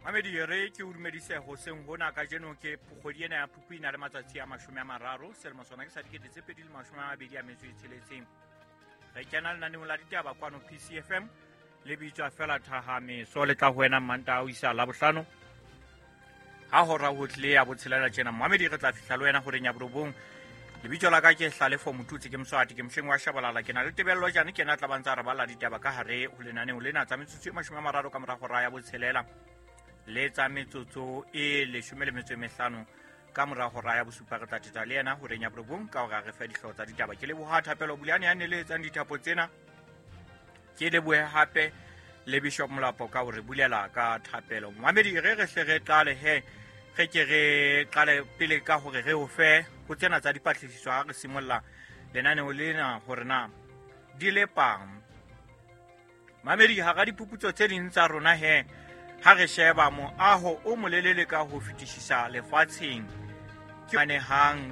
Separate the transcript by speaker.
Speaker 1: Mamedi re ke o dumedise hoseng hona kajeno ke kgwedi ena ya Phupu e na le matsatsi a 30, selemo sona ke sa 2026. Re kena lenaneong la ditaba kwano PCFM le bitswa fela Thahameso, le tla ho wena Mmantaha ho isa Labohlano ha hora ho tlile ya botshelela tjena. Mamedi re tla fihla le wena horeng ya 9. Lebitso la ka ke Hlalefo Motutsi, ke Moswati, ke mohleng wa Shabalala, ke na le Tebello Jane, ke na tla bantsa re bala ditaba ka hare ho lenaneo lena tsa metsotso e 30 ka mora hora ya botshelela le tsa metsotso e 15 ka mora hora ya bosupa. Re tla teta le yena horeng ya 9 ka hore a re fe dihlooho tsa ditaba. Ke leboha Thapelo Buleane ya neletsang dithapo tsena, ke lebohe hape le Bishop Molapo ka hore bulela ka thapelo. Mamedi re re hle re qale he, re ke re qale pele ka hore re o fe ho tsena tsa dipatlisiso ha re simolla lenaneo lena hore na di lepang. Mamedi hara diphuputso tse ding tsa rona he, ha re sheba moaho o molelele ka ho fetisisa lefatsheng ke manehang